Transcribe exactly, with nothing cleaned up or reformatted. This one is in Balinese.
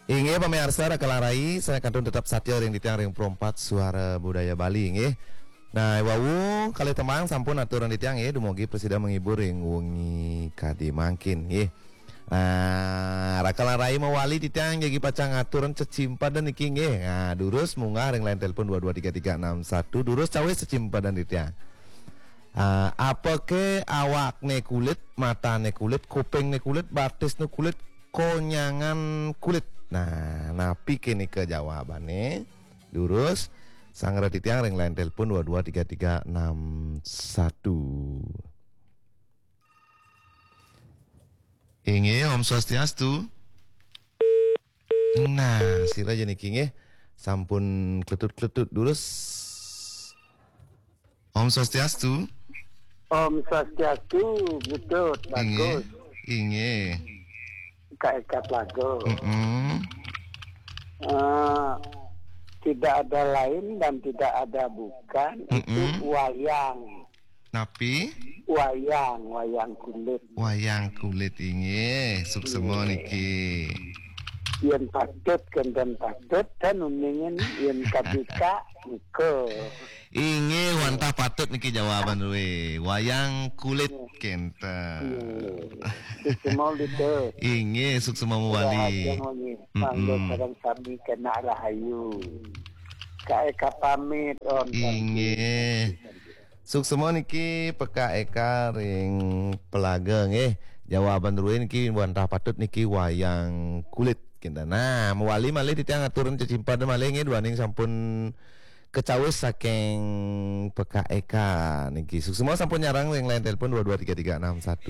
Inggih pamiarsa, Raka lan Rai, sané kantun tetep satia ring titiang ring Pro empat Suara Budaya Bali, inggih. Nah, wau kalih tembang sampun aturang titiang, inggih, dumugi prasida menghibur ring wengi kadi mangkin, inggih. Nah, Raka lan Rai mawali titiang jagi pacang ngaturang cecimpeden niki, inggih. Nah, durus munggah ring line telepon dua dua tiga tiga enam satu, durus cawis cecimpeden titiang. Ah, apake awakne kulit, matane kulit, kupingne kulit, batisne kulit, konyangan kulit? Nah, napi kene ke jawabane? Durus, sangra titiang ring line telepon dua dua tiga tiga enam satu. Inggih, Om Swastiastu. Nah, sira ja niki nggih. Sampun kletut-kletut durus. Om Swastiastu. Om Swastiastu, betul, inggih, bagus. Inggih. Kak Eka Plago. Mm-mm. Eh, tidak ada lain dan tidak ada bukan, itu, mm-mm, wayang. Napi? Wayang, wayang kulit. Wayang kulit, inggih, suksema, inggih, niki. Yen patut kenten patut, kan uningan yen kabikak nika. Inggih, wantah patut niki jawaban ruwe. Wayang kulit, inggih, kenten. Inggih. Suksema, Lita. Inggih, suksema mawali. Rahasia, nggih. Mm-mm. Mangga sareng sami kena rahayu. Kak Eka pamit, Om. Inggih. Suksema niki Pekak Eka ring Pelaga nggih. Jawaban ruwe niki wantah patut niki wayang kulit. Kinten. Nah, mawali malih titiang aturang cecimpeden malih nggih, duaning sampun kacawis saking Pekak Eka niki. Suksema sampun nyareng ring line telepon dua dua tiga tiga enam satu.